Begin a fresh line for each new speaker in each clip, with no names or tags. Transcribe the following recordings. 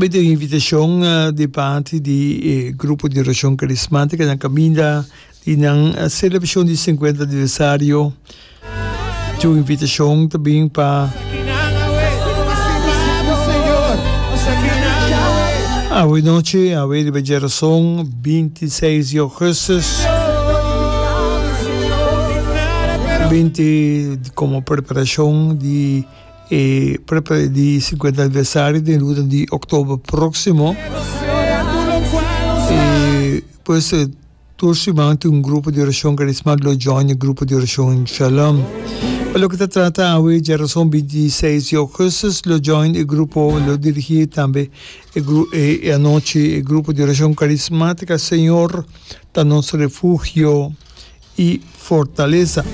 Bida un invitashon di parti di e grupo di orashon karismátika na kaminda di nan selebrashon di sinkuenta aniversario. Tin un invitashon ta bin pa awe nochi, awe riba djerason 26 di augustus, binti komo preparashon di E prepara di 50 aniversario den luna di oktober próksimo. E pues tur siman tin un grupo di orashon karismátik lo join e grupo di orashon Shalom. Pa loke ta trata awe djarason 26 di augustus lo join e grupo lo dirigí tambe e e anochi e grupo di orashon karismátika Señor ta nos refugio. i fortalesa.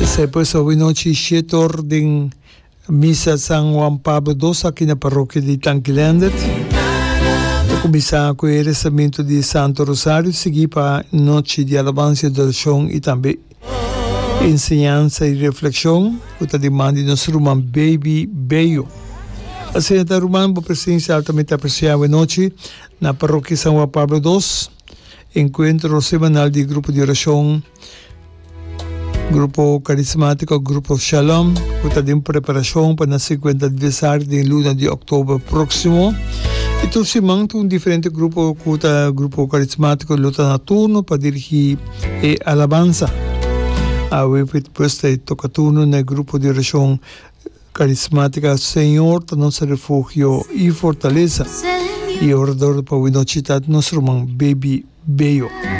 Esei pues awe nochi shete or den Misa San Juan Pablo dos aki na Parokia di Tanki Leendert. Ta kuminsá ku e rezamentu di Santo Rosario sigui pa nochi di alabansa i adorashon i tambe enseñansa i reflekshon ku ta di man di nos ruman Baby Bello. Asina ta ruman, bo presensia altamente apresiá awe nochi. Na Parokia San Juan Pablo dos, enkuentro semanal di grupo di orashon Grupo Karismátiko Grupo Shalom ku ta den preparashon pa nan sinkuenta aniversario den luna di òktober próksimo. I tur siman tin un diferente grupo ku ta Grupo Karismátiko lo ta na turno pa dirigí e alabansa. Awe pues ta toka turno na e grupo di orashon Carismática Señor ta nos refugio y fortaleza y orador pa winochi ta nos ruman Baby Bello.